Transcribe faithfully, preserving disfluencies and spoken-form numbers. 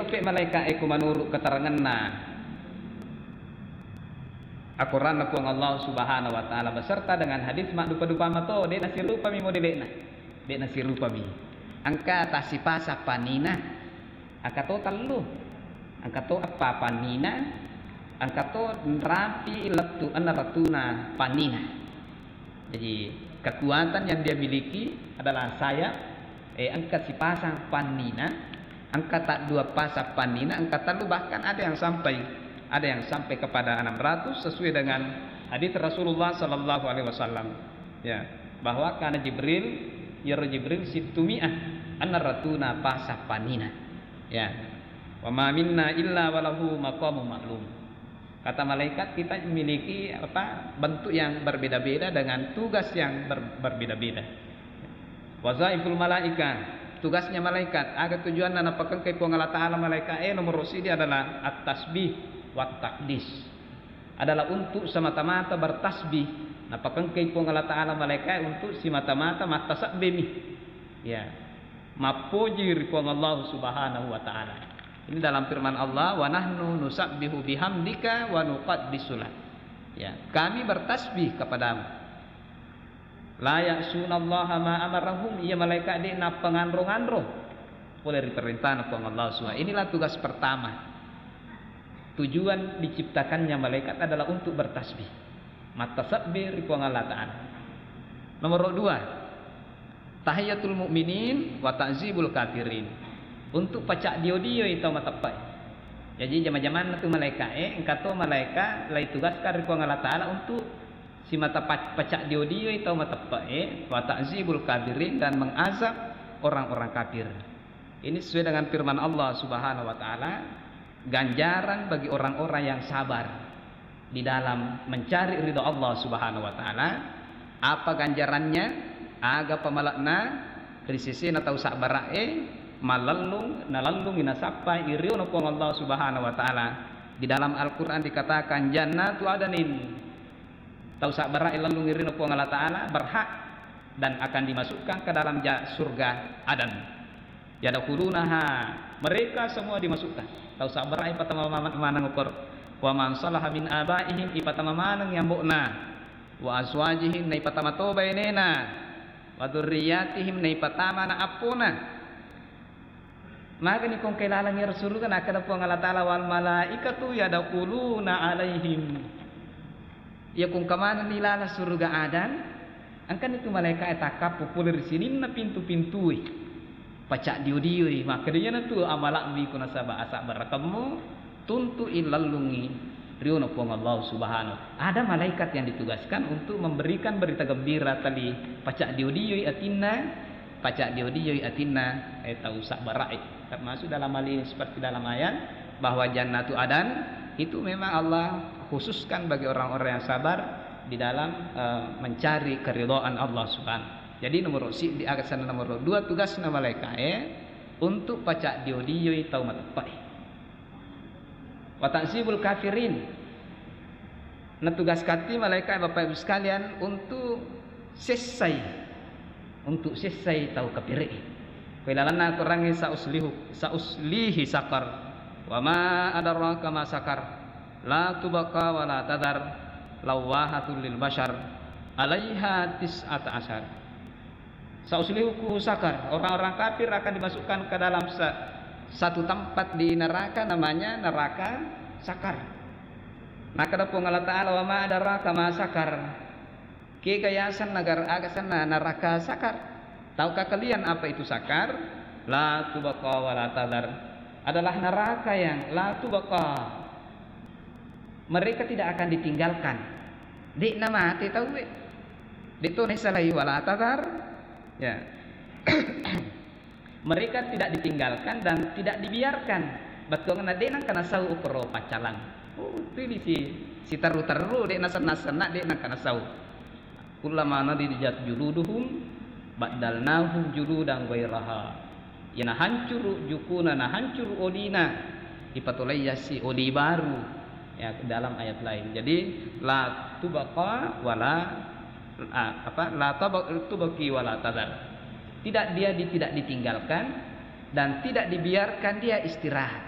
Pe malaika e ku menurut keteranganna Al-Quran na Puang Allah Subhanahu wa Ta'ala beserta dengan hadis maddupa-dupa mato, de nasirupami modelena, de nasirupami. Engka tasipasa panina, engka to tellu, engka to eppa panina, engka to nrapi lettu enna ratuna panina. Jadi, kekuatan yang dia miliki adalah sayap, eh, engka sipasang pannina, engka taddua pasang pannina, engka tellu, bahkan ada yang sampai, ada yang sampai kepada enam ratus sesuai dengan hadis Rasulullah sallallahu alaihi wasallam. Ya, bahwa kana Jibril, yaro Jibril sittumi'ah, enna ratuna pasang pannina. Ya. Wa ma minna illa walahu maqamun ma'lum. Kata malaikat, kita memiliki, apa, bentuk yang berbeda-beda dengan tugas yang ber-, berbeda-beda. Wazaiful malaika, tugasnya malaikat, aga tujuanna napakengkai Puang Allah Ta'ala malaika e, nomor sidi adalah at-tasbih wa takdis. Adalah untuk semata-mata bertasbih. Napakengkai Puang Allah Ta'ala malaika e untuk semata-mata mattasabbemi. Ya. Mappoji ri Puang Allah Subhanahu wa Ta'ala. Ini dalam firman Allah, "Wa nahnu nusabbihu bihamdika wa nuqaddisu lak." Ya, kami bertasbih kepadamu. La ya'sunallaha ma amarahum, iya malaika de nappanganro-nganro pole ri perintahna Puang Allah Subhanahu. Inilah tugas pertama. Tujuan diciptakannya malaikat adalah untuk bertasbih. Mattasabbi ri Puang Allah Ta'ala. Nomor dua, tahiyatul mu'minin wa ta'zibul kafirin. Untuk pacak dio-dioi tau mateppe'e. Jaji jama-jamanna tu malaika e, engka to malaika lai tugaskan ri Puang Allah Ta'ala untuk simata pa-, pacak dio-dioi tau mateppe'e, wa ta'zibul kafirin, dan mengazab orang-orang kafir. Ini sesuai dengan firman Allah Subhanahu wa Ta'ala, ganjaran bagi orang-orang yang sabar di dalam mencari ridho Allah Subhanahu wa Ta'ala. Apa ganjarannya? Aga pamala'na? Ri sesena tau sabbara'e, malellung, nalellungi nasappai riona Puang Allah Subhanahu wa Ta'ala. Di dalam Al-Quran dikatakan, "Jannatu adanin." Tau sabbara'e lellungi riona Puang Allah Ta'ala berhak dan akan dimasukkan ke dalam ja-, surga Adan. Yadkhulunaha, mereka semua dimasukkan. Tau sabbara'e ipatama ma-, maneng ukor. Wa man salaha min abaihim, ipatama maneng yambo'na. Wa azwajihim, na ipatama to bainena. Wa dzurriyyatihim, na ipatama na appona. Magani kongkai laleng iyaro suruga, nakkeda Puang Allah Ta'ala, "Wal malaikatu yadkhuluna alaihim." Iya kongka manenni laleng suruga Adan, engkani tu malaika e takkappu pole ri sininna pintu-pintue. Pacak dio-dioi, makkeda, "Iyanatu amala'mi ku nasaba asabbarakemmu, tuntu'i lellungi riona Puang Allah Subhanahu." Ada malaikat yang ditugaskan untuk memberikan berita gembira tali pacak dio-dioi atinna, pacak dio-dioi atinna, eh, tau sabbara'e. Termasuk dalam hal ini seperti dalam ayat bahwa Jannatu Adan itu memang Allah khususkan bagi orang-orang yang sabar di dalam, eh, mencari keridhaan Allah Subhanahu. Jadi nomor si-, di aga sana nomor dua tugasna malaika e untuk pacak dio-dioi tau mateppe'e. Wa ta'zibul kafirin. Natugaskatti malaika, Bapak Ibu sekalian, untuk sessai, untuk sessai tau kapere. Ko ilalanna Al-Quran, "Sa'uslihu, sa'uslihi sakar. Wa ma adraka ma sakar. La tubqa wa la tadhar. Lawwahatul lil bashar. Alaiha tis'ata asyar." Sa'uslihu sakar, orang-orang kafir akan dimasukkan ke dalam sa-, satu tempat di neraka, namanya neraka Sakar. Nakkeda Puang Allah Ta'ala, "Wa ma adraka ma sakar." Kega yaseng nagar-, aga senna neraka Sakar? Tahukah kalian apa itu Sakar? La tubqa wa la tadhar. Adalah neraka yang la tubqa. Mereka tidak akan ditinggalkan. De'na mate tauwe. De'to naissalai wala tadhar. Ya. Mereka tidak ditinggalkan dan tidak dibiarkan. Bettuanna de' nengka nasau ukoro paccalang. Oh, itu bisi siterru-terru, de' nasenna-senna, de' nengka nasau. Kullama nadijat juluduhum baddalnahum juludan ghairaha. Iyana hancuru jukuna, nahancuru olina, ipatolai yassi oli baru. Ya, dalam ayat lain. Jadi, la tubqa wala, ah, apa, la tub-, tubqi wala tadhar. Tidak, dia di-, tidak ditinggalkan dan tidak dibiarkan dia istirahat.